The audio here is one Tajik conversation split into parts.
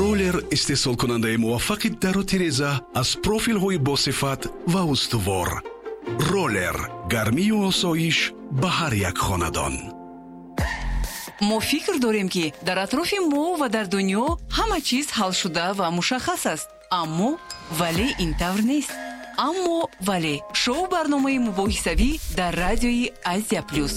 Роллер истеҳсолкунандаи муваффақи дару тиреза аз профилҳои босифат ва устувор. Роллер гармию осоиш ба ҳар як хонадон. Мо фикр дорем, ки дар атрофи мо ва дар дунё ҳама чиз ҳалшуда ва мушаххас аст, аммо вале ин тавр нест. Аммо вале шоу барномаи мубоҳисавӣ дар радиои Азия Плюс.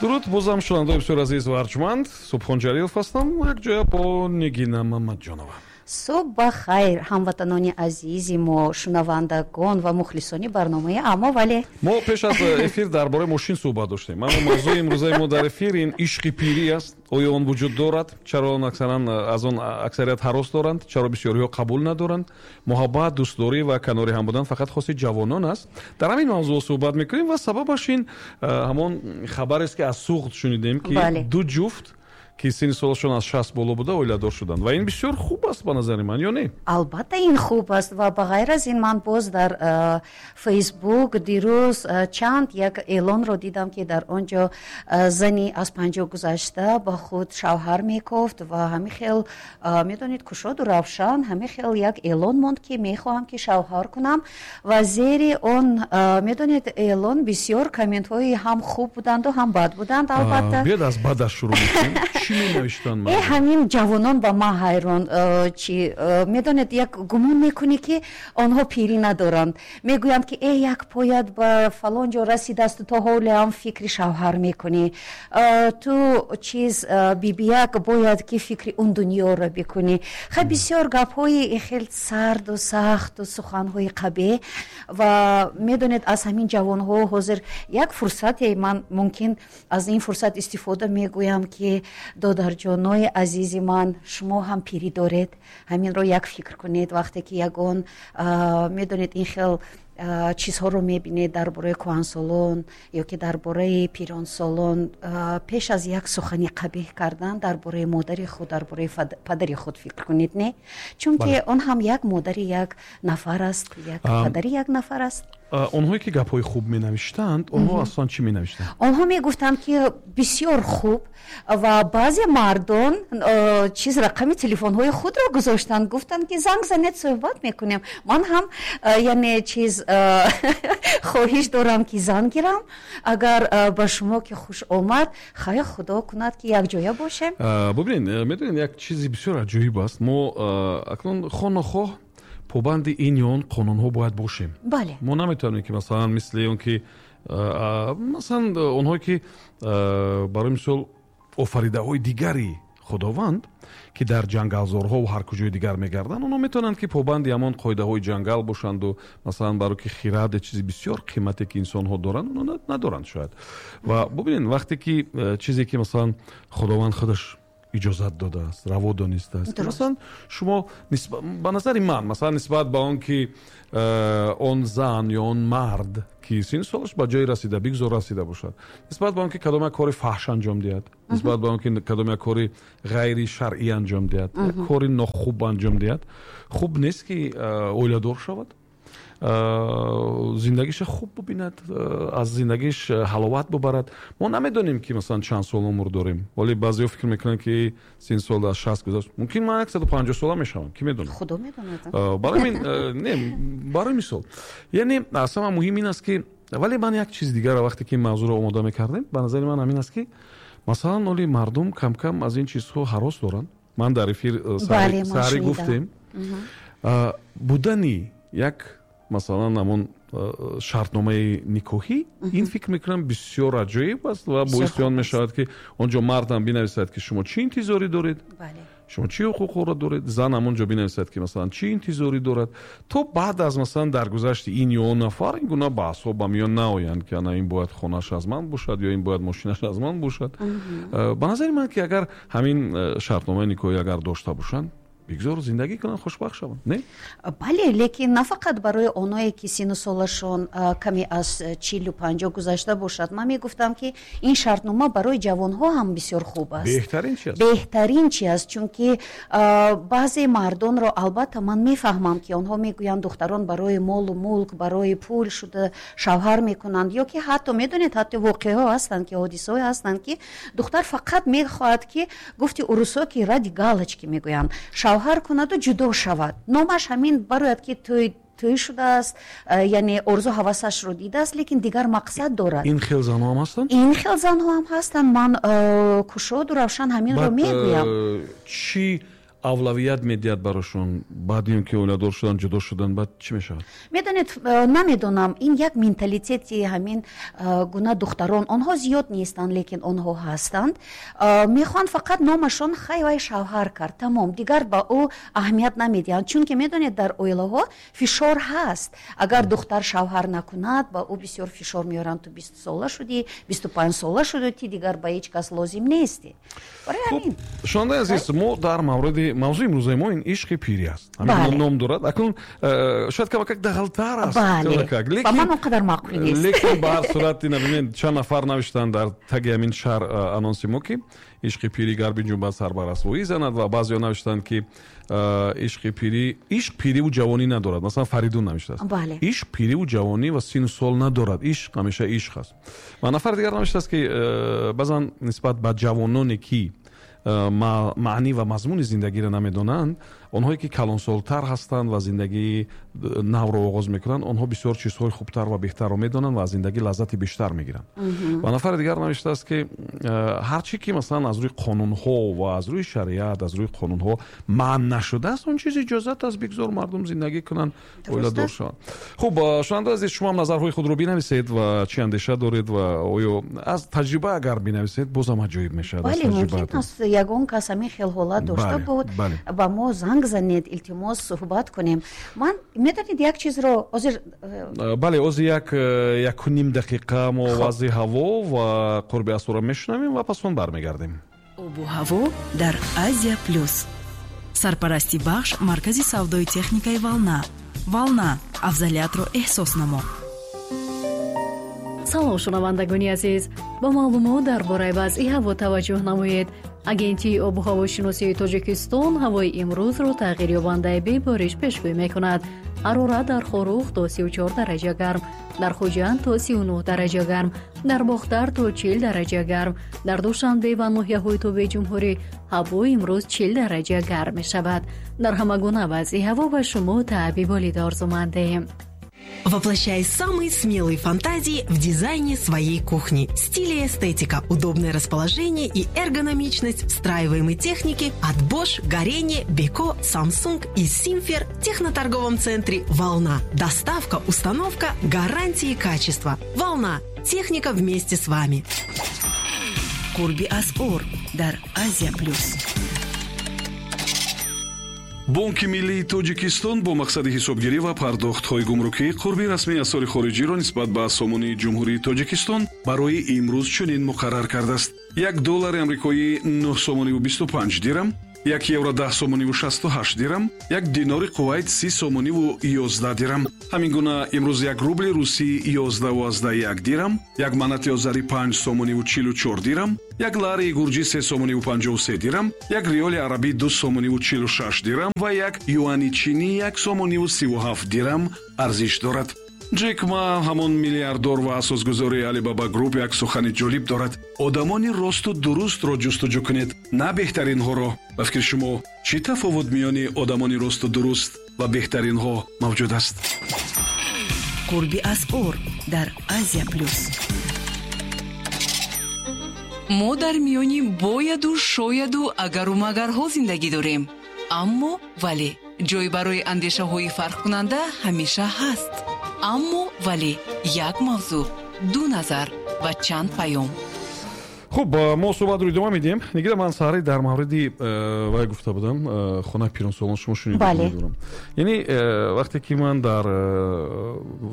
Дуруд бозам, шунавандаои бисёр азиз ва арҷманд. Субҳон Ҷалилов ҳастам якҷоя бо Нигина Мамадҷонова. Субҳ ба хайр, ҳамватанони азизи мо, шунавандагон ва мухлисони барномаи «Аммо вале». Мо пеш аз эфир дар бораи мошин суҳбат доштем, аммо мавзӯи имрӯзаи мо дар эфир ин ишқи пирӣ аст. Оё он вуҷуд дорад? Чаро он аксаран аз он аксарият ҳарос доранд? Чаро бисёриҳо қабул надоранд? Муҳаббат, дӯстдорӣ ва канори ҳам будан фақат хоси ҷавонон аст? Дар ҳамин мавзӯъ суҳбат мекунем ва сабабаш ин ҳамон хабарест, ки аз Суғд шунидем, ки ду ҷуфт, ки синни солашон аз 60 боло буда, оиладор шуданд ва ин бисёр хуб аст ба назари ман, ё не? Албатта, ин хуб аст ва ба ғайр аз ин ман боз дар Фейсбук дирӯз чанд як эълонро дидам, ки дар он ҷо зани аз 50 гузашта ба худ шавҳар мекофт ва ҳамин хел, медонед, кушоду равшан ҳамин хел як эълон монд, ки мехоҳам, ки шавҳар кунам. Ва зери он, медонед, эълон бисёр комментҳои ҳам хуб буданду, ҳам бад буданд, албатта. Биёд, аз бадаш шурӯъ мекунем. Чӣ менавиштанд? Ҳамин ҷавонон ба ман ҳайрон чи, медонед, як гумон мекунӣ, ки онҳо пирӣ надоранд. Мегӯянд, ки э, як поят ба фалон ҷо расидасту то ҳоле ҳам фикри шавҳар мекунӣ, ту чиз бибияк, бояд ки фикри он дунёро бикунӣ. Хай, бисёр гапҳои хел сарду сахту суханҳои қабеҳ. Ва медонед, аз ҳамин ҷавонҳо ҳозир як фурсате ман мумкин аз ин фурсат истифода мегӯям, ки додарҷонои азизи ман, шумо ҳам пирӣ доред, ҳаминро як фикр кунед. Вақте ки ягон, медонед, ин хел чизҳоро мебинед дар бораи кӯҳансолон ё ки дар бораи пиронсолон, пеш аз як сухани қабеҳ кардан дар бораи модари худ, дар бораи падари худ фикр кунед, не? Чунки он ҳам як модари як нафар аст, як падари як нафар аст. Онҳое ки гапҳои хуб менавиштанд, онҳо аслан чӣ менавиштанд? Онҳо мегуфтанд, ки бисёр хуб, ва баъзе мардон чиз рақами телефонҳои худро гузоштанд, гуфтанд, ки занг занед, суҳбат мекунем. Ман ҳам, яъне чиз, хоҳиш дорам, ки занг гирам. Агар ба шумо ки хуш омад, хайр, худо кунад, ки якҷоя бошем. Бубинед, медонед, як чизи бисёр аҷоиб аст. Мо акнун хоҳ нохоҳ побанди ин ё он қонунҳо бояд бошем. Мо наметавонем, ки масалан, мисли он ки масалан онҳое ки, барои мисол, офаридаҳои дигари Худованд, ки дар ҷангалзорҳо ва ҳар куҷои дигар мегарданд, онҳо метавонанд, ки побанди ҳамон қоидаҳои ҷангал бошанду масалан, барои ки хирад чизи бисёр қимате, ки инсонҳо доранд, онҳо надоранд шояд. Ва бубинед, вақте ки чизе ки масалан Худованд худаш иҷозат додааст, раво донистааст, масалан, шумо, ба назари ман, масалан, нисбат ба он ки он зан ё он мард, ки синну солаш ба ҷое расида, бигзор расида бошад, нисбат ба он ки кадом як кори фаҳш анҷом диҳад, нисбат ба он ки кадом як кори ғайри шаръӣ анҷом диҳад, як кори нохуб анҷом диҳад, хуб нест, ки оиладор шавад, зиндагиша хуб бубинад, аз зиндагиш ҳаловат бубарад. Мо намедонем, ки масалан чанд сол умр дорем, вале баъзеҳо фикр мекунанд, ки син сол аз 60 гузашт, мумкин ман 150 сола мешавам, ки медонад? Худо медонад. Барои не, барои мисол, яъне аз ҳама муҳим ин аст, ки вале ман як чиз дигарро, вақте ки ин мавзӯъро омода мекардем, ба назари ман ҳамин аст, ки масалан оли мардум кам-кам аз ин чизҳо ҳарос доранд. Ман дар эфир саҳарӣ гуфтем, будани як масалан ҳамон шартномаи никоҳӣ, ин фикр мекунам, бисёр аҷоиб аст ва боиси он мешавад, ки он ҷо мардам бинависад, ки шумо чӣ интизорӣ доред, шумо чӣ ҳуқуқҳоро доред, зан ҳамон ҷо бинависад, ки масалан чӣ интизорӣ дорад, то баъд аз масалан даргузашти ин ё он нафар ин гуна баҳсҳо ба миён наоянд, ки ана ин бояд хонааш аз ман бошад ё ин бояд мошинаш аз ман бошад. Ба назари ман, ки агар ҳамин шартномаи никоҳӣ агар дошта бошанд. Бигзор зиндагӣ кунанд, хушбахт шаванд, не? Бале, лекин на фақат барои оное ки сину солашон каме аз 40-50 гузашта бошад. Ман мегуфтам, ки ин шартнома барои ҷавонҳо ҳам бисёр хуб аст. Беҳтарин чи аст? Беҳтарин чи аст, чунки баъзе мардонро албатта ман мефаҳмам, ки онҳо мегӯянд, духтарон барои молу мулк, барои пул шуда шавҳар мекунанд, ё ки ҳатто медонед, ҳатто воқеаҳо ҳастанд, ки ҳодисаҳое ҳастанд, ки духтар фақат мехоҳад, ки гуфти урусҳо, ки ради галочки мегӯянд, шавҳар кунаду ҷудо шавад, номаш ҳамин барояд, ки тӯй шудааст, яъне орзу ҳавасашро дидааст, лекин дигар мақсад дорад. Ин хел занҳо ҳам ҳастанд? Ин хел занҳо ҳам ҳастанд. Ман кушоду равшан ҳаминро мегӯям. Чӣ авлавият медиҳад барошон баъди он ки оиладор шудан, ҷудо шудан, баъд чӣ мешавад? Медонед, намедонам, ин як менталитети ҳамин гуна духтарон, онҳо зиёд нестанд, лекин онҳо ҳастанд, мехоҳанд фақат номашон хай вай шавҳар кард, тамом, дигар ба ӯ аҳамият намедиҳанд, чунки медонед, дар оилаҳо фишор ҳаст. Агар духтар шавҳар накунад, ба ӯ бисёр фишор меоранд: ту 20 сола шудӣ, 25 сола шудӣ, ти дигар ба ҳеҷ кас лозим нестӣ. Барои ҳамин. Шунавандаи азиз, мо дар мавриди мавзӯи имрӯзаи мо ин ишқи пирӣ аст, ҳамин ном дорад. Акнун шояд камакак дағалтар аст. Ба ман он қадар маъқул нест. Лекин ба ҳар сурат ина бибинед, чанд нафар навиштанд дар таги ҳамин шар анонси мо, ки ишқи пирӣ гар биҷунбад, сар ба расвоӣ занад, ва баъзеҳо навиштанд, ки ишқи пирӣ, ишқ пириву ҷавонӣ надорад. Масалан, Фаридун навиштааст: ишқ пириву ҷавонӣ ва сину сол надорад, ишқ ҳамеша ишқ аст. Ва нафари дигар навиштааст, ки баъзан нисбат ба ҷавононе, ки маънӣ ва мазмуни зиндагиро намедонанд, онҳое ки калонсолтар ҳастанд ва зиндагии навро оғоз мекунанд, онҳо бисёр чизҳои хубтар ва беҳтарро медонанд ва аз зиндагӣ лаззати бештар мегиранд. Ва нафари дигар навиштааст, ки ҳар чӣ ки масалан аз рӯи қонунҳо ва аз рӯи шариат, аз рӯи қонунҳо манъ нашудааст, он чиз иҷозат аст, бигзор мардум зиндагӣ кунанд, оиладор шаванд. Хуб, шунавандаи азиз, шумо ҳам назарҳои худро бинависед ва чӣ андеша доред ва оё аз таҷриба агар бинависед, бозам аҷоиб мешавад. Бале, мумкин аст ягон кас ҳамин хел ҳолат дошта буд, ба мо занг занед, илтимос, суҳбат кунем. Ман, медонед, як чизро ҳозир Бале, ҳозир як 1,5 дақиқа мо вазъи ҳаво ва қурби асъорро мешунавем ва пас он бармегардем. Обу ҳаво дар Азия Плюс. Сарпарасти бахш маркази савдои техникаи «Волна». «Волна» — афзалиятро эҳсос намо. Салом, шунавандагони азиз! Ба маълумот дар бораи вазъи ҳаво таваҷҷӯҳ намоед. Агентии обу ҳавошиносии Тоҷикистон ҳавои имрӯзро тағйирёбандаи бебориш пешгӯӣ мекунад. Ҳарорат дар Хоруғ то 34 дараҷа гарм, дар Хуҷанд то 39 дараҷа гарм, дар Бохтар то 40 дараҷа гарм, дар Душанбе ва ноҳияҳои тобеи ҷумҳурӣ ҳаво имрӯз 40 дараҷа гарм мешавад. Дар ҳама гуна вазъи ҳаво ба шумо таъби болида орзумандем. Воплощай самые смелые фантазии в дизайне своей кухни. Стиль и эстетика, удобное расположение и эргономичность встраиваемой техники от Bosch, Gorenje, Beko, Samsung и Simfer в техноторговом центре «Волна». Доставка, установка, гарантии качества. «Волна». Техника вместе с вами. Қурби асъор дар Азия Плюс. Бонки миллии Тоҷикистон бо мақсади ҳисобгирӣ ва пардохтҳои гумрукӣ қурби расмии асъори хориҷиро нисбат ба сомонии Ҷумҳурии Тоҷикистон барои имрӯз чунин муқаррар кардааст: як доллари амрикоӣ 9 сомониву 25 дирам, як евро 10 сомониву 68 дирам, як динори Кувайт 30 сомониву 11 дирам. Ҳамин гуна имрӯз як рубли русӣ 11,1 дирам, як манати озарӣ 5 сомониву 44 дирам, як лари гурҷӣ 3 сомониву 53 дирам, як риёли арабӣ 2 сомониву 46 дирам ва як юани чинӣ 1 сомониву 37 дирам арзиш дорад. Ҷек Ма, ҳамон миллиардор ва асосгузори Алибаба Груп, як сухани ҷолиб дорад: одамони росту дурустро ҷустуҷӯ кунед, на беҳтаринҳоро. Ба фикри шумо, чӣ тафовут миёни одамони росту дуруст ва беҳтаринҳо мавҷуд аст? Қурби асъор дар Азия Плюс. Мо дар миёни бояду шояду агару магарҳо зиндагӣ дорем, аммо вале ҷой барои андешаҳои фарқкунанда ҳамеша ҳаст. Аммо вале як мавзӯъ, ду назар ва чанд паём. Хуб, мо суҳбатро идома медиҳем. Нигира, ман саҳари дар мавриди вай гуфта будам, хонаи пиронсолон, шумо шунидам. Яъне вақте ки ман дар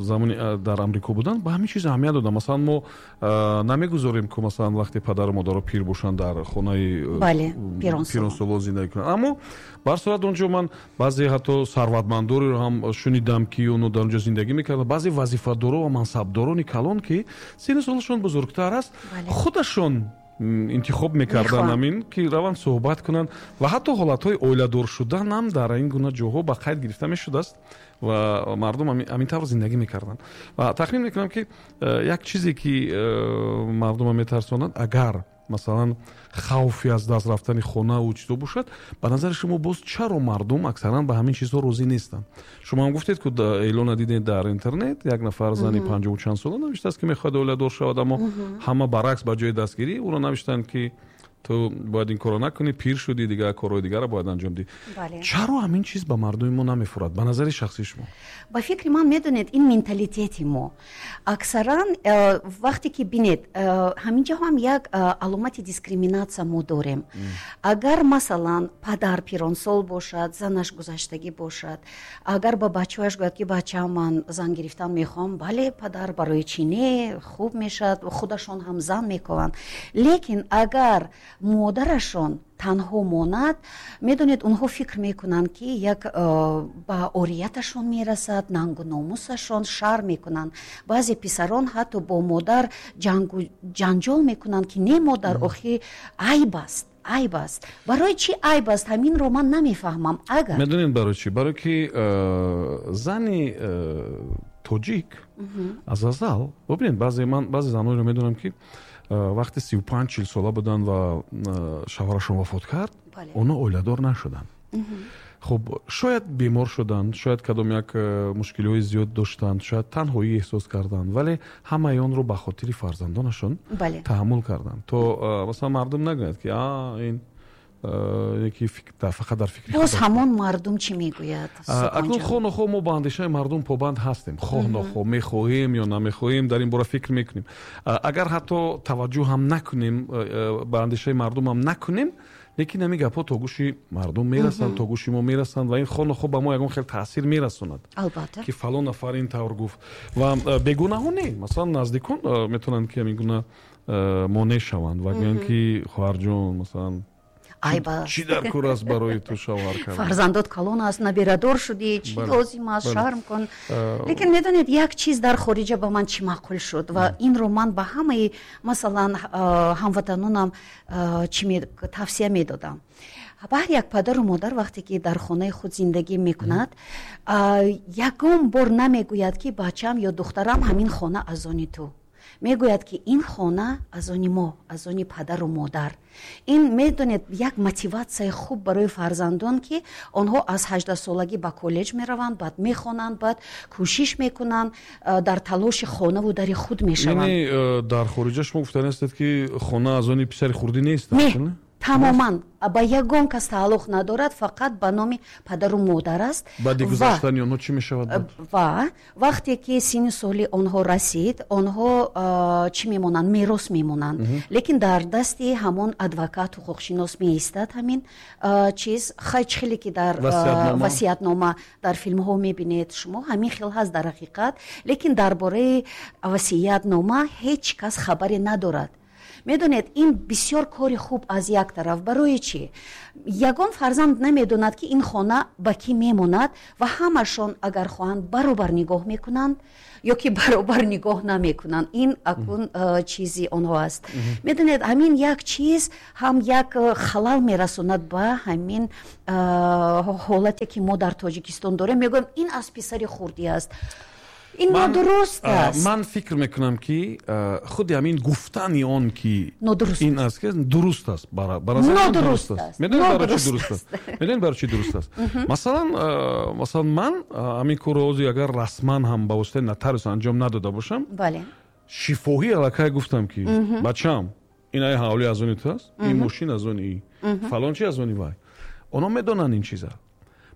замони дар Амрико будам, ба ҳамин чиз аҳамият додам. Масалан, мо намегузорем, ки масалан вақте падару модаро пир бошанд, дар хонаи Пиронсолон зиндагӣ кунанд. Аммо ба ҳар сурат он ҷо ман баъзе ҳатто сарватмандореро ҳам шунидам, ки онҳо дар он ҷо зиндагӣ мекарданд, баъзе вазифадоро ва мансабдорони калон, ки синну солашон бузургтар аст, худашон интихоб мекарданд ҳамин ки раванд суҳбат кунанд ва ҳатто ҳолатҳои оиладор шудан ҳам дар ин гуна ҷоҳо ба қайд гирифта мешудааст ва мардум ҳамин тавр зиндагӣ мекарданд. Ва тахмин мекунам, ки як чизе, ки мардумро метарсонад, агар масалан хавфи аз даст рафтани хонаву чизо бошад, ба назари шумо боз чаро мардум аксаран ба ҳамин чизҳо розӣ нестанд? Шумо ҳам гуфтед, ки эълона дидед дар интернет, як нафар зани панҷоҳу чанд сола навиштааст, ки мехоҳад оиладор шавад, аммо ҳама баръакс, ба ҷои дастгирӣ ӯро навиштанд, ки ту бояд ин корро накунӣ, пир шудӣ, дигар корҳои дигарро бояд анҷом диҳӣ. Чаро ҳамин чиз ба мардуми мо намефурад, ба назари шахсии шумо? Ба фикри ман, медонед, ин менталитети мо аксаран вақте ки бинед, ҳаминҷо ҳам як аломати дискриминатсия мо дорем. Агар, масалан, падар пиронсол бошад, занаш гузаштагӣ бошад, агар ба бачаҳояш гӯяд, ки бачаам, ман зан гирифтан мехоҳам, бале, падар, барои чӣ не, хуб мешавад, худашон ҳам зан мекунанд. Лекин агар модарашон танҳо монад, медонед, онҳо фикр мекунанд, ки як ба орияташон мерасад, нангу номусашон, шарм мекунанд. Баъзе писарон ҳатто бо модар ҷангу ҷанҷол мекунанд, ки не, модар, охи айб аст, айб аст. Барои чӣ айб аст, ҳаминро ман намефаҳмам. Агар Медонед барои чӣ? Барои ки зани тоҷик аз азал, бибинед, баъзе ман баъзе занонеро медонам, ки вақти 35-40 сола буданд ва шавҳарашон вафот кард, онҳо оиладор нашуданд. Хуб, шояд бемор шуданд, шояд кадом як мушкилиҳои зиёд доштанд, шояд танҳоӣ эҳсос карданд, вале ҳамаи онро ба хотири фарзандонашон таҳаммул карданд, то масалан мардум нагӯяд, ки а ин яки фақат дар фикри Боз ҳамон мардум чӣ мегӯяд? Акнун хоҳ нохоҳ мо ба андешаи мардум побанд ҳастем. Хоҳ нохоҳ, мехоҳем ё намехоҳем, дар ин бора фикр мекунем. Агар ҳатто таваҷҷӯҳ ҳам накунем, ба андешаи мардум ҳам накунем, лекин ҳамин гапҳо то гӯши мардум мерасанд, то гӯши мо мерасанд ва ин хоҳ нохоҳ ба мо ягон хел таъсир мерасонад, ки фалон нафар ин тавр гуфт. Ва бегунаҳо не, масалан, наздикон метавонанд, ки ҳамин гуна монеъ шаванд ва гӯянд, ки хоҳарҷон, масалан, айб аст, чӣ дар кор аст барои ту шавҳар кардан? Фарзандот калон аст, набирадор шудӣ, чӣ лозим аст, шарм кун. Лекин медонед, як чиз дар хориҷа ба ман чӣ маъқул шуд ва инро ман ба ҳамаи, масалан, ҳамватанонам чӣ тавсия медодам: ба ҳар як падару модар, вақте ки дар хонаи худ зиндагӣ мекунад, ягон бор намегӯяд, ки бачам ё духтарам, ҳамин хона аз они ту. Мегӯяд, ки ин хона аз они мо, аз они падару модар. Ин, медонед, як мотиватсияи хуб барои фарзандон, ки онҳо аз 18-солагӣ ба коллеҷ мераванд, баъд мехонанд, баъд кӯшиш мекунанд, дар талоши хонаву дари худ мешаванд. Яъне дар хориҷа шумо гуфтани ҳастед, ки хона аз они писари хурдӣ нест? Не, тамоман ба ягон кас тааллуқ надорад, фақат ба номи падару модар аст. Баъди гузаштани онҳо чӣ мешавад? Ва вақте ки синни соли онҳо расид, онҳо чӣ мемонанд? Мерос мемонанд, лекин дар дасти ҳамон адвокат, ҳуқуқшинос меистад ҳамин чиз. Хай, чӣ хеле ки дар васиятнома дар филмҳо мебинед шумо, ҳамин хел ҳаст дар ҳақиқат. Лекин дар бораи васиятнома ҳеҷ кас хабаре надорад. Медонед, ин бисёр кори хуб аз як тараф. Барои чӣ? Ягон фарзанд намедонад, ки ин хона ба кӣ мемонад, ва ҳамашон агар хоҳанд, баробар нигоҳ мекунанд ё ки баробар нигоҳ намекунанд, ин акнун чизи онҳо аст. Медонед, ҳамин як чиз ҳам як халал мерасонад ба ҳамин ҳолате, ки мо дар Тоҷикистон дорем. Мегӯям, ин аз писари хурдӣ аст. Ин нодуруст аст. Ман фикр мекунам, ки худи ҳамин гуфтани он, ки ин аст, дуруст аст. Нодуруст аст. Медонед, барои чӣ дуруст аст? Медонед, барои чӣ дуруст аст? Масалан, ман ҳамин корро ҳозир агар расман ҳам ба воситаи нотариус анҷом надода бошам, шифоҳӣ аллакай гуфтам, ки бачам, ин ай ҳавлӣ аз они ту аст, ин мошин аз они, фалон чи аз они вай. Онҳо медонанд ин чиза.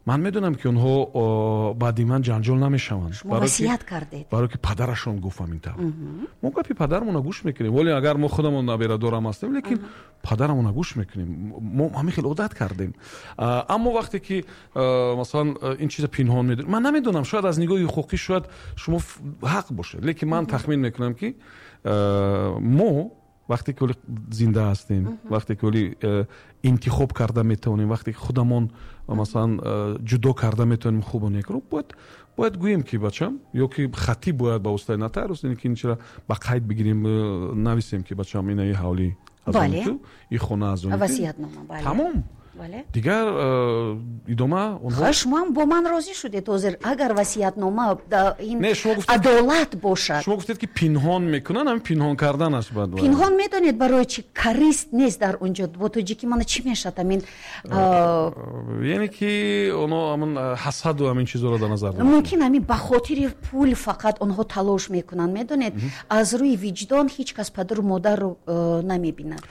Ман медонам, ки онҳо баъди ман ҷанҷол намешаванд. Шумо васият кардед. Барое ки падарашон гуфт ҳамин тавр. Мо гапи падарамонро гӯш мекунем, вале агар мо худамон наберадорам ҳастем, лекин падарамонро гӯш мекунем. Мо ҳамин хел одат кардем. Аммо вақте ки, масалан, ин чиза пинҳон медорем, ман намедонам, шояд аз нигоҳи ҳуқуқӣ шояд шумо ҳақ бошед, лекин ман тахмин мекунам, ки мо Вақте ки ҳоли зинда ҳастем, вақте ки ҳоли интихоб карда метавонем, вақте ки худамон, масалан, ҷудо карда метавонем хубу некро, бояд гӯем, ки бачам, ё ки хатӣ бояд ба воситаи нотариус ин ки ин чира ба қайд бигирем, нависем, ки бачам, ина и ҳавлӣ аз они ту, и хона аз они ту. Васиятнома, бале. Тамом. Дигар идома онҳо. Шумо ҳам бо ман розӣ шудед ҳозир, агар васиятнома ин Не, шумо гуфтед- адолат бошад. Шумо гуфтед, ки пинҳон мекунанд, ҳамин пинҳон карданаш баъд бояд. Пинҳон, медонед барои чӣ? Корысть нест дар он ҷо. Бо тоҷикӣ мана чӣ мешавад амин? Яъне ки оно ҳамн ҳасаду ҳамин чизоро дар назар доранд. Мумкин, ҳамин ба хотири пул фақат онҳо талош мекунанд, медонед, аз рӯи виҷдон ҳеҷ кас падару модарро намебинад.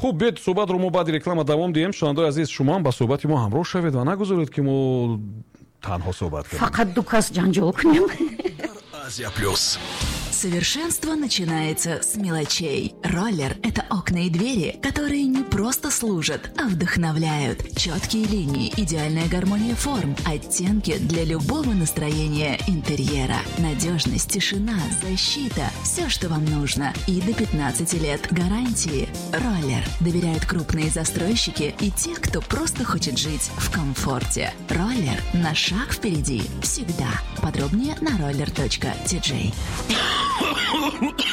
Хуб, биёед, суҳбатро мо баъди реклама давом диҳем. Шунавандаои азиз, шумо ҳам ба суҳбати мо ҳамроҳ шавед ва нагузоред, ки мо танҳо суҳбат кунем. Фақат ду кас ҷанҷол кунем. Азия Плюс. Совершенство начинается с мелочей. Роллер – это окна и двери, которые не просто служат, а вдохновляют. Четкие линии, идеальная гармония форм, оттенки для любого настроения интерьера. Надежность, тишина, защита – все, что вам нужно. И до 15 лет гарантии. Роллер. Доверяют крупные застройщики и те, кто просто хочет жить в комфорте. Роллер на шаг впереди. Всегда. Подробнее на roller.tj.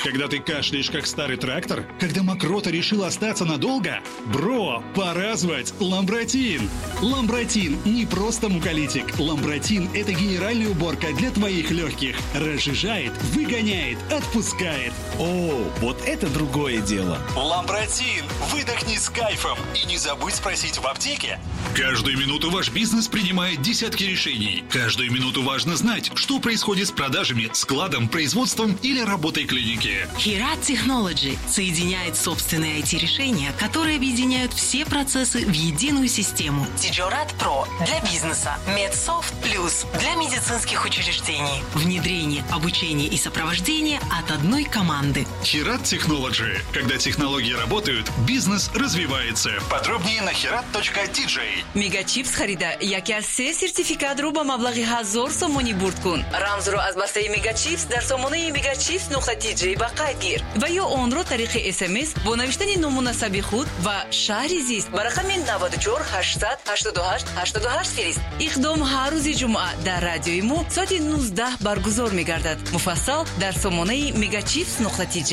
Когда ты кашляешь, как старый трактор? Когда мокрота решила остаться надолго? Бро, пора звать Ламбратин! Ламбратин не просто муколитик. Ламбратин – это генеральная уборка для твоих легких. Разжижает, выгоняет, отпускает. О, вот это другое дело. Ламбратин! Выдохни с кайфом и не забудь спросить в аптеке. Каждую минуту ваш бизнес принимает десятки решений. Каждую минуту важно знать, что происходит с продажами, складом, производством или работой клиники. Хират Technology соединяет собственные IT-решения, которые объединяют все процессы в единую систему. Тиджорат Про для бизнеса. Медсофт Плюс для медицинских учреждений. Внедрение, обучение и сопровождение от одной команды. Хират Technology. Когда технологии работают, бизнес развивается. Подробнее на hirat.tj. Мегачипс харида, яке аз се сертификатро ба маблағи 1000 сомонӣ бурд кун. Рамзро аз бастаи Мегачипс дар сомонаи мегачипс.тj ба қайд гир ва ё онро тариқи СМС бо навиштани ному насаби худ ва шаҳри зист ба рақами 94 888 88 фирист. Иқдом ҳар рӯзи ҷумъа дар радиои мо соати 19 баргузор мегардад. Муфассал дар сомонаи мегачипс.тj.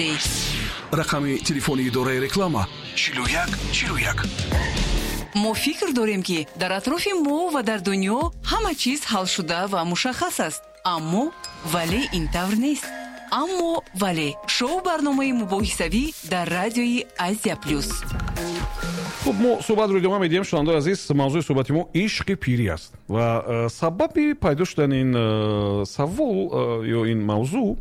Рақами телефони идораи реклама: 41 41. Мо фикр дорем, ки дар атрофи мо ва дар дунё ҳама чиз ҳалшуда ва мушаххас аст, аммо вале ин тавр нест. Аммо вале — шоу барномаи мубоҳисавӣ дар радиои Азия Плюс. Хуб, мо суҳбатро идома медиҳем. Шунавандаои азиз, мавзӯи суҳбати мо ишқи пирӣ аст ва сабаби пайдо шудани ин савол ё ин мавзӯъ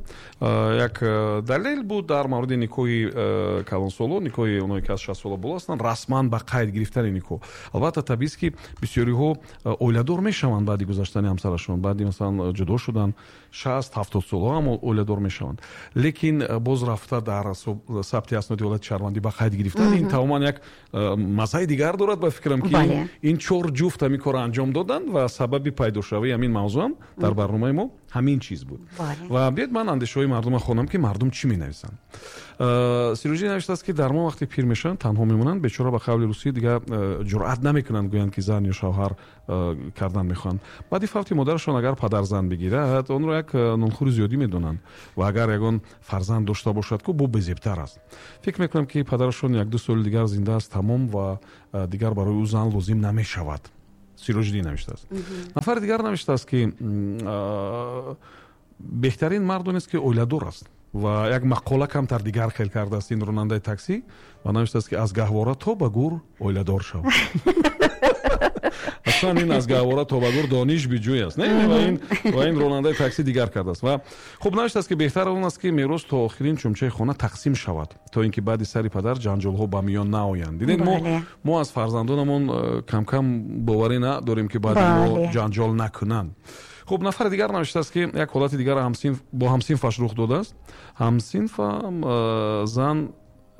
як далел буд дар мавриди никоҳи калонсолон, никоҳи оное ки аз 60 сола боло ҳастанд, расман ба қайд гирифтани никоҳ. Албатта, табиист, ки бисёриҳо оиладор мешаванд баъди гузаштани ҳамсарашон, баъди, масалан, ҷудо шудан, 60-70 солаҳо ҳам оиладор мешаванд, лекин боз рафта дар сабти асноди ҳолати шаҳрвандӣ ба қайд гирифтан, ин тамоман як маззаи дигар дорад. Ба фикрам, ки ин чор ҷуфт ҳамин корро анҷом доданд ва сабаби пайдошавии ҳамин мавзӯъам дар барномаи мо ҳамин чиз буд. Ва биёед, ман андешаҳои мардумро хонам, ки мардум чӣ менависанд. Сироҷӣ навиштааст, ки дар мо вақте пир мешаванд, танҳо мемонанд, бечора, ба қавли русӣ, дигар ҷуръат намекунанд гӯянд, ки зан ё шавҳар кардан мехоҳанд. Баъди фавти модарашон агар падар зан бигирад, онро як нонхӯри зиёдӣ медонанд ва агар ягон фарзанд дошта бошад, ку бо безебтар аст. Фикр мекунам, ки падарашон 1-ду соли дигар зинда аст, тамом, ва дигар барои ӯ зан лозим намешавад. Сироҷиддин навиштааст. Нафари дигар навиштааст, ки беҳтарин мард он аст, ки оиладор аст, ва як мақола камтар дигар хел кардааст ин ронандаи таксӣ ва навиштааст, ки аз гаҳвора то ба гур оиладор шав. Аслан ин аз гаҳвора то ба гур дониш биҷӯй аст, не? Ва ин ронандаи таксӣ дигар кардааст. Ва хуб, навиштааст, ки беҳтар он аст, ки мерос то охирин чумчаи хона тақсим шавад, то ин ки баъди сари падар ҷанҷолҳо ба миён наоянд. Дидед, мо аз фарзандонамон камкам боварӣ надорем, ки баъди мо ҷанҷол накунанд. Хуб, нафари дигар навиштааст, ки як ҳолати дигар бо ҳамсинфаш рух додааст. Ҳамсинфам зан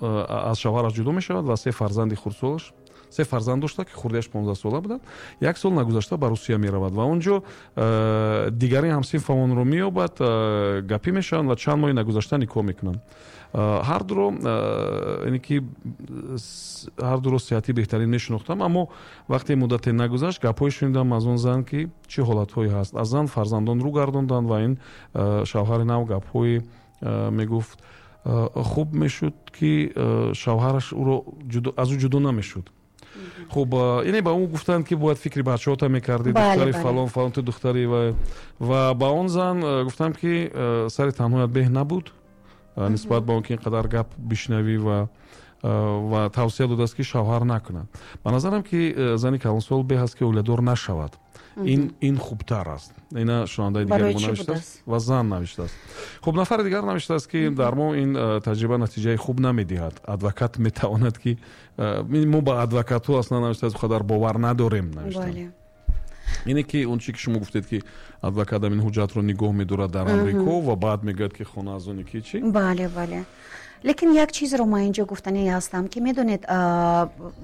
аз шавҳараш ҷудо мешавад ва се фарзанди хурдсолаш, се фарзанд дошта, ки хурдиаш 15 сола буданд. Як сол нагузашта ба Русия меравад ва он ҷо дигари ҳамсинфамонро меёбад, гапӣ мешаванд ва чанд моҳи нагузашта никоҳ мекунанд. Ҳардуро, яъне ки ҳардуро сиҳатӣ беҳтарин мешинохтам, аммо вақте муддате нагузашт, гапҳое шунидам аз он зан, ки чӣ ҳолатҳое ҳаст. Аз зан фарзандон рӯ гардонданд ва ин шавҳари нав гапҳое мегуфт, хуб мешуд, ки шавҳараш ӯро аз ӯ ҷудо намешуд. Хуб, яъне ба ӯ гуфтанд, ки бояд фикри бачаҳота мекардӣ, духтари фалон фалон, ту духтари, ва ба он зан гуфтам, ки сари танҳоят беҳ набуд нисбат ба он ки ин қадар гап бишнавӣ, ва тавсия додааст, ки шавҳар накунад. Ба назарам, ки зани калонсол беҳ аст, ки оиладор нашавад, ин хубтар аст. Ина шунавандаи дигари мо навиштааст ва зан навиштааст. Хуб, нафари дигар навиштааст, ки дар мо ин таҷриба натиҷаи хуб намедиҳад. Адвокат метавонад, ки мо ба адвокатҳо аслан, навиштааст, қадар бовар надорем, навиштанд. Ине ки он чи ки шумо гуфтед, ки адвокат ин ҳуҷҷатро нигоҳ медорад дар Амрико ва баъд мегӯяд, ки хона аз они ки чӣ. Бале, лекин як чизро ман инҷо гуфтанӣ ҳастам, ки медонед,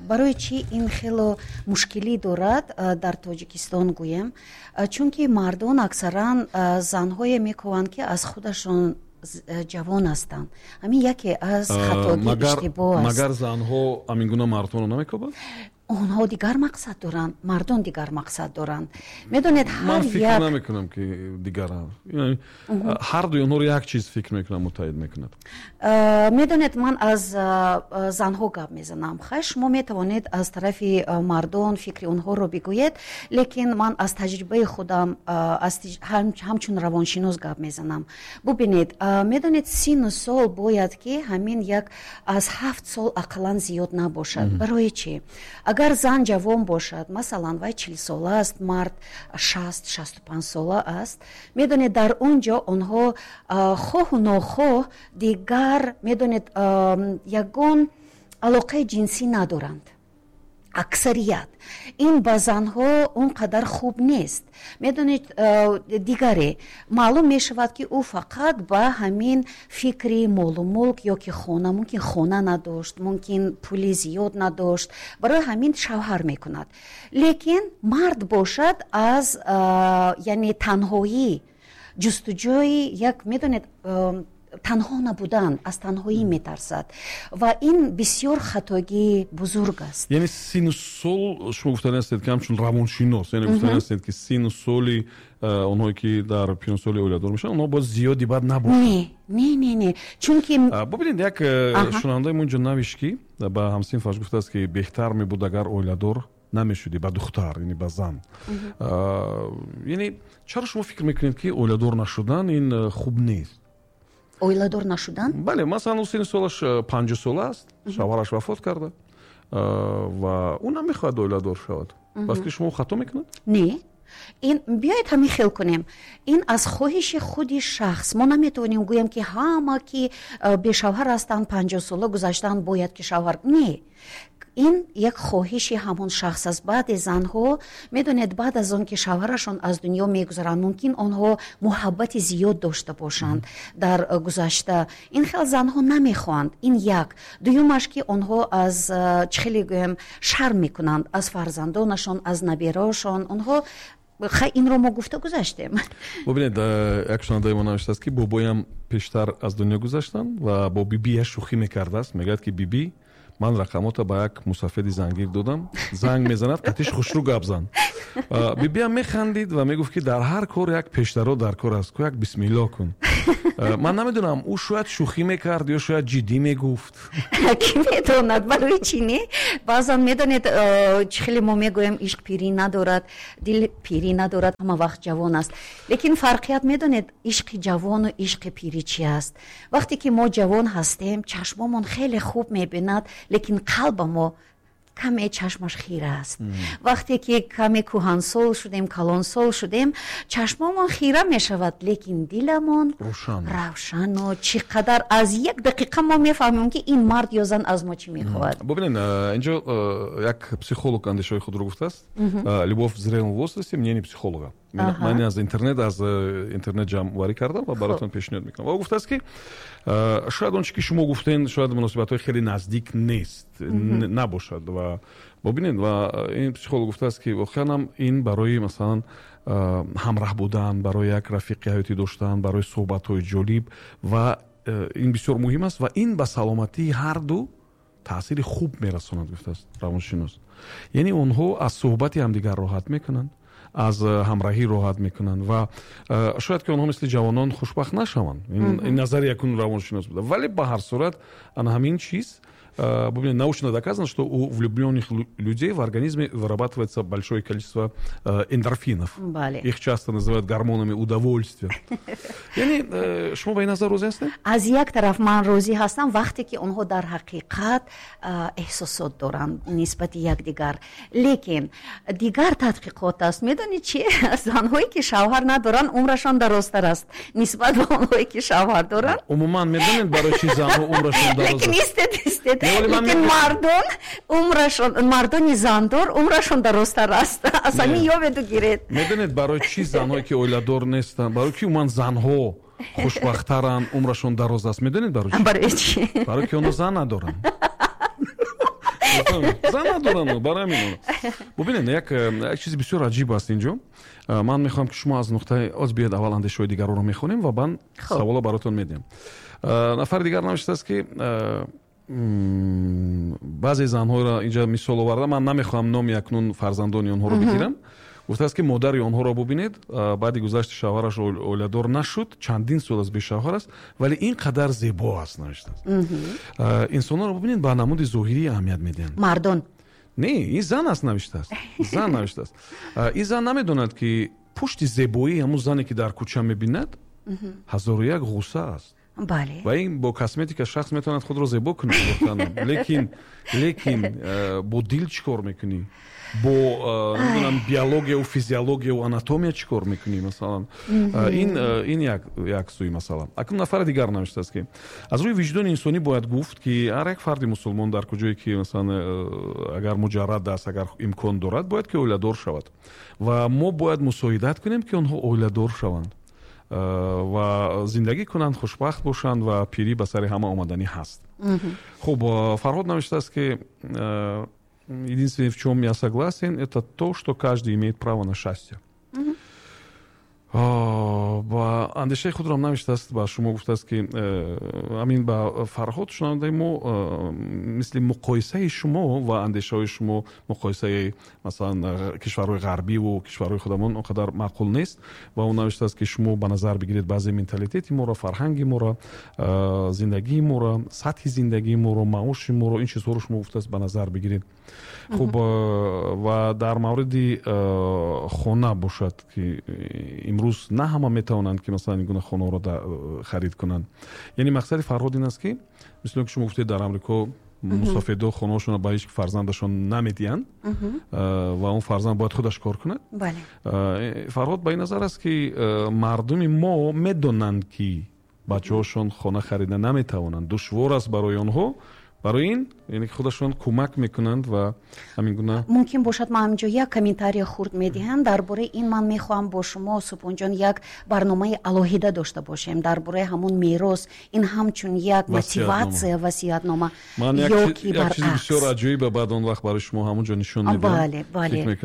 барои чӣ ин хело мушкилӣ дорад дар Тоҷикистон гӯем? Чунки мардон аксаран занҳое мекӯванд, ки аз худашон ҷавон ҳастанд. Ҳамин яке аз хатогӣ, иштибоҳ аст. Магар занҳо ҳамин гуна мардонро намекӯбанд? Онҳо дигар мақсад доранд, мардон дигар мақсад доранд, медонед, ҳар Ман фикр намекунам, ки дигар, ҳар дуи онҳоро як чиз, фикр мекунам, муттаҳид мекунад. Медонед, ман аз занҳо гап мезанам. Хай, шумо метавонед аз тарафи мардон фикри онҳоро бигӯед, лекин ман аз таҷрибаи худам, ҳамчун равоншинос гап мезанам. Бубинед, медонед, сину сол бояд ки ҳамин як аз 7 сол ақаллан зиёд набошад. Барои чӣ? Агар зан ҷавон бошад, масалан, вай 40сола аст, мард 60-65сола аст, медонед, дар он ҷо онҳо хоҳу нохоҳ дигар, медонед, ягон алоқаи ҷинсӣ надоранд аксарият. Ин ба занҳо он қадар хуб нест, медонед. Дигаре маълум мешавад, ки ӯ фақат ба ҳамин фикри молу мулк ё ки хона, мумкин хона надошт, мумкин пули зиёд надошт, барои ҳамин шавҳар мекунад. Лекин мард бошад, аз яъне танҳоӣ, ҷустуҷӯи як, медонед, танҳо набудан, аз танҳоӣ метарсад ва ин бисёр хатогии бузург аст. Яъне сину сол, шумо гуфтани ҳастед, ки ҳамчун равоншинос, яъне гуфтани ҳастед, ки сину соли онҳое ки дар пиронсоли оиладор мешаванд, онҳо бояд зиёди бад набошанд? Не, чунки Бубинед, як шунавандаи мо инҷо навишт, ки ба ҳамсинфаш гуфтааст, ки беҳтар мебуд, агар оиладор намешудӣ, ба духтар, яъне ба зан. Яъне чаро шумо фикр мекунед, ки оиладор нашудан ин хуб нест? Оиладор нашудан? Бале, масалан, ӯ сини солаш 50сола аст, шавҳараш вафот карда ва ӯ намехоҳад оиладор шавад. Ба фикри шумо, хато мекунад? Не, ин биёед ҳамин хел кунем: ин аз хоҳиши худи шахс. Мо наметавонем гӯем, ки ҳама ки бешавҳар ҳастанд, 50сола гузаштанд, бояд ки шавҳар. Не, ин як хоҳиши ҳамон шахс аст. Баъде занҳо, медонед, баъд аз он ки шавҳарашон аз дунё мегузаранд, мумкин онҳо муҳаббати зиёд дошта бошанд дар гузашта. Ин хел занҳо намехоҳанд. Ин як. Дуюмаш, ки онҳо аз чӣ хеле гӯем, шарм мекунанд аз фарзандонашон, аз набераашон онҳо. Хай, инро мо гуфта гузаштем. Бубинед, як шунавандаи мо навиштааст, ки бобоям пештар аз дунё гузаштанд ва бо бибиаш шӯхӣ мекардааст, мегӯяд, ки бибӣ, ман рақамота ба як мусафеди зангир додам, занг мезанад, қатиш хушрӯ гап зан. Бибиам механдид ва мегуфт, ки дар ҳар кор як пештаро дар кор аст ку, як бисмилло кун. Ман намедонам, ӯ шояд шӯхӣ мекард ё шояд ҷиддӣ мегуфт. Кӣ медонад, барои чӣ не? Баъзан, медонед, чӣ хеле мо мегӯем, ишқ пирӣ надорад, дил пирӣ надорад, ҳама вақт ҷавон аст. Лекин фарқият, медонед, ишқи ҷавону ишқи пирӣ чи аст? Вақте ки мо ҷавон ҳастем, чашмомон хеле хуб мебинад, лекин қалба мо каме чашмаш хира аст. Вақте ки каме кӯҳансол шудем, калонсол шудем, чашмомон хира мешавад, лекин диламон равшану чӣ қадар аз як дақиқа мо мефаҳмем, ки ин мард ё зан аз мо чӣ мехоҳад. Бубинед, инҷо як психолог андешаҳои худро гуфтааст: «Любовь в зрелом возрасте. Мнение психолога». Ман аз интернет ҷамъоварӣ кардам ва баротон пешниҳод мекунам. Ва ӯ гуфтааст, ки шояд он чи ки шумо гуфтен, шояд муносибатҳои хеле наздик нест, набошад. Ва бубинед, ва ин психолог гуфтааст, ки воқеан ҳам ин барои, масалан, ҳамраҳ будан, барои як рафиқи ҳаётӣ доштан, барои суҳбатҳои ҷолиб ва Ин бисёр муҳим аст ва ин ба саломатии ҳар ду таъсири хуб мерасонад, гуфтааст равоншинос. Яъне онҳо аз суҳбати ҳамдигар роҳат мекунанд, аз ҳамроҳӣ роҳат мекунанд ва шояд ки онҳо мисли ҷавонон хушбахт нашаванд. Ин назари якун равоншинос буда, вале ба ҳар сурат ана ҳамин чиз, бубинед, научно доказано, что у влюбленных людей в организме вырабатывается большое количество эндорфинов. Их часто называют гормонами удовольствия. Яъне шумо ба ин назар розӣ ҳастед? Аз як тараф ман розӣ ҳастам, вақте ки онҳо дар ҳақиқат эҳсосот доранд нисбати якдигар. Лекин дигар тадқиқот аст. Медонед чи? Занҳое ки шавҳар надоранд, умрашон дарозтар аст нисбат ба онҳое ки шавҳар доранд. Умуман медонед, барои чи занҳо умрашон дароз аст? Лекин истед, истед. Лекин мардон умрашон, мардони зандор умрашон дарозтар аст. Аз ҳамин ёбеду гиред. Медонед, барои чӣ занҳое ки оиладор нестанд, барои ки умуман занҳо хушбахттаранд, умрашон дароз аст? Медонед барои чӣ? Барои чӣ? Барои ки онҳо зан надоранд. Зан надоранд, барои ҳамин. Бубинед, як чизи бисёр аҷиб аст инҷо. Ман мехоҳам, ки шумо аз нуқтаи оз биёед, аввал андешаҳои дигарро мехонем ва баъд саволо баротон медиҳам. Нафари дигар навиштааст, ки баъзе занҳоро инҷа мисол оварда, ман намехоҳам номи акнун фарзандони онҳоро бигирам. Гуфтааст, ки модари онҳоро бубинед, баъди гузашти шавҳараш оиладор нашуд, чандин сол аст бешавҳар аст, вале ин қадар зебо аст, навиштааст. Инсонҳоро бубинед, ба намуди зоҳирӣ аҳамият медиҳанд. Мардон. Не, ин зан аст, навиштааст. Зан навиштааст. Ин зан намедонад, ки пушти зебоии ҳамун зане, ки дар кӯча мебинад, ҳазору як ғусса аст. Ва ин бо косметика шахс метавонад худро зебо кунад, лекин бо дил чӣ кор мекунӣ? Бо намедонам, биологияву физиологияву анатомия чӣ кор мекунӣ, масалан? Ин як сӯи масъала. Акнун нафари дигар навиштааст, ки аз рӯи виҷдони инсонӣ бояд гуфт, ки ҳар як фарди мусулмон дар куҷое ки, масалан, агар муҷаррад аст, агар имкон дорад, бояд ки оиладор шавад ва мо бояд мусоидат кунем, ки онҳо оиладор шаванд ва зиндагӣ кунанд, хушбахт бошанд ва пирӣ ба сари ҳама омаданӣ ҳаст. Хуб, Фарҳод навиштааст, ки единственное, в чем я согласен, это то, что каждый имеет право на счастье. Ба андешаи худро навиштааст, ба шумо гуфтааст, ки ҳамин ба Фарҳод, шунавандаи мо, мисли муқоисаи шумо ва андешаҳои шумо, муқоисаи, масалан, кишварҳои ғарбиву кишварҳои худамон он қадар маъқул нест. Ва ӯ навиштааст, ки шумо ба назар бигиред баъзе менталитети моро, фарҳанги моро, зиндагии моро, сатҳи зиндагии моро, маоши моро, ин чизҳоро шумо, гуфтааст, ба назар бигиред. Хуб, ва дар мавриди хона бошад, ки имрӯз на ҳама метавонанд, ки масалан ин гуна хонаҳоро харид кунанд. Яъне мақсади Фарҳод ин аст, ки мисли он ки шумо гуфтед, дар Амрико мусофирдо хонаҳошонро ба ҳеҷ фарзандашон намедиҳанд ва он фарзанд бояд худаш кор кунад. Фарҳод ба ин назар аст, ки мардуми мо медонанд, ки бачаҳошон хона харида наметавонанд, душвор аст барои онҳо. Барои ин, яъне ки худашон кӯмак мекунанд ва ҳамин гуна. Мумкин бошад, ман ҳаминҷо як комментария хурд медиҳам дар бораи ин. Ман мехоҳам бо шумо, Субҳонҷон, як барномаи алоҳида дошта бошем дар бораи ҳамон мерос. Ин ҳамчун як мотиватсия, васиятнома. Ман як чизи бисёр аҷоиба баъд он вақт барои шумо ҳамон ҷо нишон медиҳам. Бале, бале.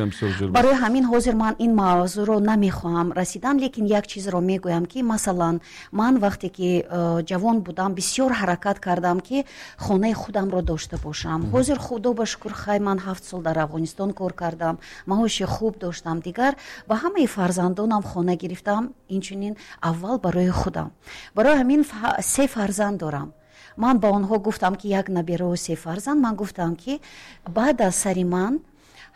Барои ҳамин ҳозир ман ин мавзӯъро намехоҳам расидан, лекин як чизро мегӯям, ки масалан, ман вақте ки ҷавон будам, бисёр ҳаракат кардам, ки хонаи худамро дошта бошам. Ҳозир, худо ба шукр, хай, ман 7 сол дар Афғонистон кор кардам, маоши хуб доштам, дигар ба ҳамаи фарзандонам хона гирифтам, инчунин аввал барои худам. Барои ҳамин се фарзанд дорам. Ман ба онҳо гуфтам, ки як набераву се фарзанд, ман гуфтам, ки баъд аз сари ман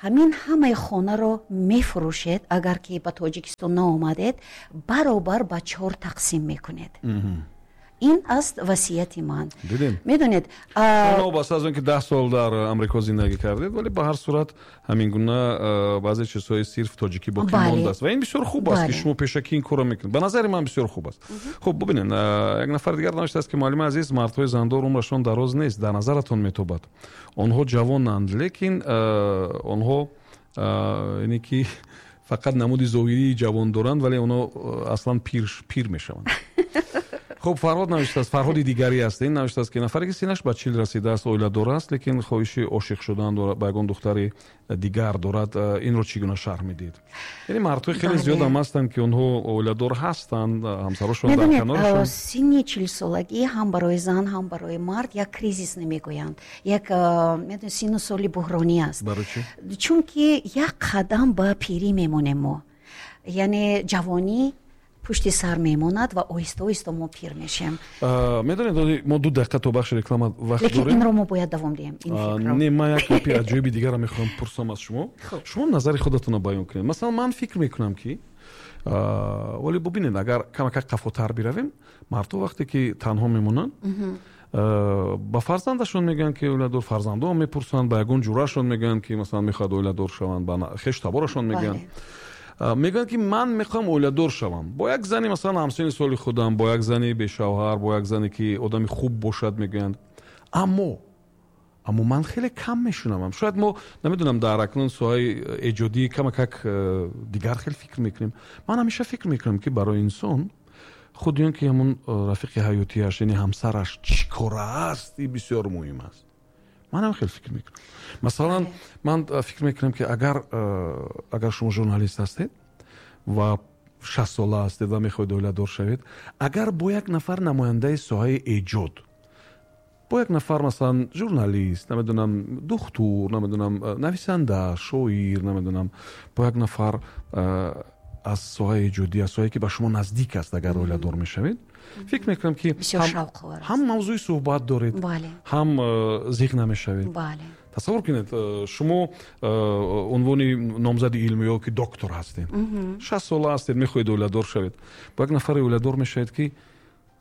ҳамин ҳамаи хонаро мефурӯшед, агар ки ба Тоҷикистон наомадед, баробар ба чор тақсим мекунед. Ин аст васияти ман. Дидем. Медонед, новобаста аз он ки 10 сол дар Амрико зиндагӣ кардед, вале ба ҳар сурат ҳамин гуна баъзе чизҳои сирф тоҷикӣ боқӣ мондааст ва ин бисёр хуб аст, ки шумо пешакӣ ин корро мекунед. Ба назари ман, бисёр хуб аст. Хуб, бубинед, як нафари дигар навиштааст, ки муаллими азиз, мардҳои зандор умрашон дароз нест, дар назаратон метобад. Онҳо ҷавонанд, лекин онҳо, яъне ки фақат намуди зоҳирии ҷавон доранд, вале онҳо аслан пир мешаванд. Хуб, Фарҳод навиштааст, Фарҳоди дигарӣ аст ин, навиштааст, ки нафаре, ки синаш ба 40 расидааст, оиладор аст, лекин хоҳиши ошиқ шудан ба ягон духтари дигар дорад, инро чӣ гуна шарҳ медиҳед? Яъне мардҳои хеле зиёд ҳам ҳастанд, ки онҳо оиладор ҳастанд, ҳамсарошон дар канорашон. Синни 40-солагӣ ҳам барои зан, ҳам барои мард як кризис намегӯянд, як синну соли буҳронӣ аст. Барои чӣ? Чунки як қадам ба пирӣ мемонем мо, яъне ҷавонӣ пушти сар мемонад ва оҳиста оҳиста мо пир мешем. Медонед, мо 2 дақиқа то бахши реклама вақт дорем, лекин инро мо бояд давом диҳем. Не, ман як гапи аҷоиби дигарро мехоҳам пурсам аз шумо. Шумо назари худатонро баён кунед. Масалан, ман фикр мекунам, ки вале бубинед, агар камакак қафотар биравем, мардҳо вақте ки танҳо мемонанд, ба фарзандашон мегӯянд, ки оиладор, фарзандон мепурсанд, ба ягон ҷурашон мегӯянд, ки масалан мехоҳад оиладор шаванд, ба хешу таборашон мегӯянд, мегӯянд, ки ман мехоҳам оиладор шавам бо як зани, масалан, ҳамсини соли худам, бо як зани бешавҳар, бо як зане, ки одами хуб бошад, мегӯянд. Аммо ман хеле кам мешунавам. Шояд мо, намедонам, дар акнун соҳаи эҷодӣ камакак дигар хел фикр мекунем. Ман ҳамеша фикр мекунам, ки барои инсон худи он ки ҳамон рафиқи ҳаётиаш, яъне ҳамсараш, чӣ кора аст, ин бисёр муҳим аст. Ман ҳам хеле фикр мекунам. Масалан, ман фикр мекунам, ки агар шумо журналист ҳастед ва 60 сола ҳастед ва мехоҳед оиладор шавед, агар бо як нафар намояндаи соҳаи эҷод, бо як нафар, масалан, журналист, намедонам, духтур, намедонам, нависанда, шоир, намедонам, бо як нафар аз соҳаи эҷодӣ, аз соҳае, ки ба шумо наздик аст, агар оиладор мешавед, фикр мекунам, ки ҳам мавзӯи суҳбат доред, ҳам зиқ намешавед. Тасаввур кунед, шумо унвони номзади илм ё ки доктор ҳастед, 60 сола ҳастед, мехоҳед оиладор шавед, бо як нафаре оиладор мешавед, ки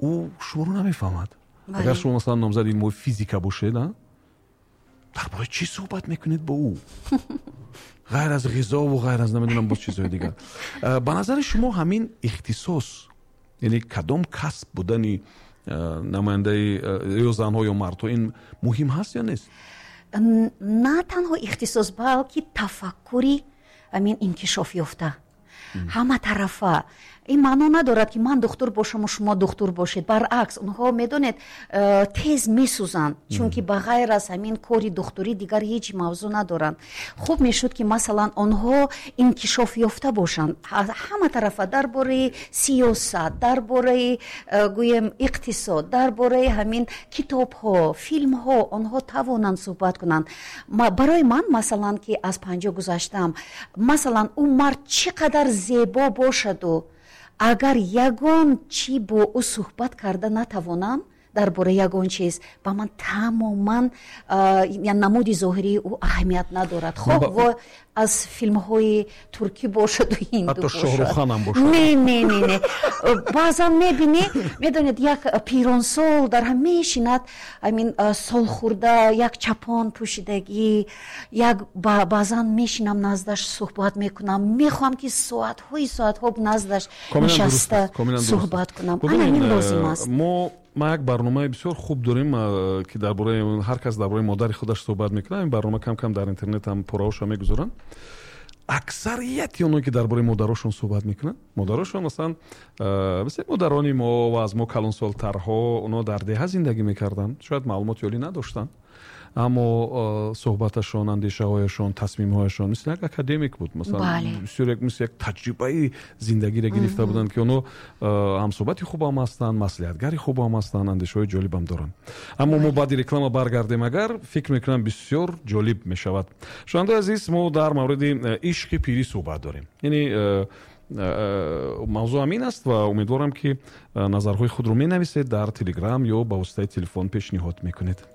ӯ шуморо намефаҳмад. Агар шумо, масалан, номзади илмҳои физика бошед, дар бораи чӣ суҳбат мекунед бо ӯ? Ғайр аз ғизову ғайр аз, намедонам, боз чизҳои дигар. Ба назари шумо ҳамин ихтисос, яъне кадом касб будани намояндаи ё занҳо ё мардҳо, ин муҳим ҳаст ё нест? На танҳо ихтисос, балки тафаккури ҳамин инкишоф ёфта, ҳама тарафа. Ин маъно надорад, ки ман духтур бошаму шумо духтур бошед. Баръакс, онҳо, медонед, тез месӯзанд, чунки ба ғайр аз ҳамин кори духтурӣ дигар ҳеҷ мавзӯъ надоранд. Хуб мешуд, ки масалан онҳо инкишоф ёфта бошанд ҳама тарафа, дар бораи сиёсат, дар бораи, гӯем, иқтисод, дар бораи ҳамин китобҳо, филмҳо, онҳо тавонанд суҳбат кунанд. Барои ман, масалан, ки аз 50 гузаштам, масалан, ӯ мард чӣ қадар зебо бошаду агар ягон чӣ бо ӯ суҳбат карда натавонам дар бораи ягон чиз, ба ман тамоман намуди зоҳирии ӯ аҳамият надорад. Хоҳ во аз филмҳои туркӣ бошаду ҳинду бошад, Шоҳрухханам бошад. Не, не, не, не. Баъзан мебинӣ, медонед, як пиронсол дар ҳам мешинад, ҳамин солхӯрда, як чапон пӯшидагӣ, як баъзан мешинам наздаш суҳбат мекунам, мехоҳам, ки соатҳои соатҳо наздаш нишаста суҳбат кунам. Ана ҳамин лозим аст. Ма як барномаи бисёр хуб дорем, ки дар бораи ҳар кас дар бораи модари худаш суҳбат мекунад. Ин барнома кам-кам дар интернет ҳам пораҳоша мегузоранд. Аксарияти оное, ки дар бораи модарошон суҳбат мекунанд, модарошон, масалан, мисли модарони мо ва аз мо калонсолтарҳо, онҳо дар деҳа зиндагӣ мекарданд, шояд маълумоти олӣ надоштанд, аммо суҳбаташон, андешаҳояшон, тасмимҳояшон мисли як академик буд. Масалан, бисёр мисли як таҷрибаи зиндагиро гирифта буданд, ки онҳо ҳамсуҳбати хубам ҳастанд, маслиҳатгари хубам ҳастанд, андешаҳои ҷолибам доранд. Аммо мо баъди реклама баргардем, агар фикр мекунам, бисёр ҷолиб мешавад. Шунавандаи азиз, мо дар мавриди ишқи пирӣ суҳбат дорем. Яъне мавзӯъ ҳамин аст ва умедворам, ки назарҳои худро менависед дар Телеграм ё ба воситаи телефон пешниҳод мекунед.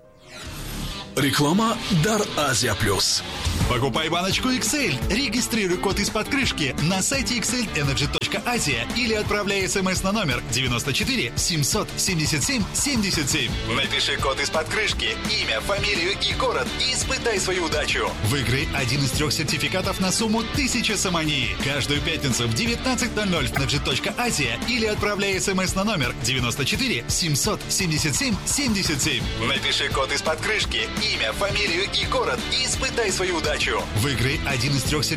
Реклама дар Азия Плюс. Покупай баночку XL, регистрируй код из-под крышки на сайте xlenergy.asia или отправляй смс на номер 94 777 77. Напиши код из-под крышки, имя, фамилию и город и испытай свою удачу. Выиграй один из 3 сертификатов на сумму 1000 сомони. Каждую пятницу в 19:00 в energy.asia или отправляй смс на номер 94 777 77. Напиши код из-под крышки, имя, фамилию и город и испытай свою удачу. Выиграй один из 3 сертификатов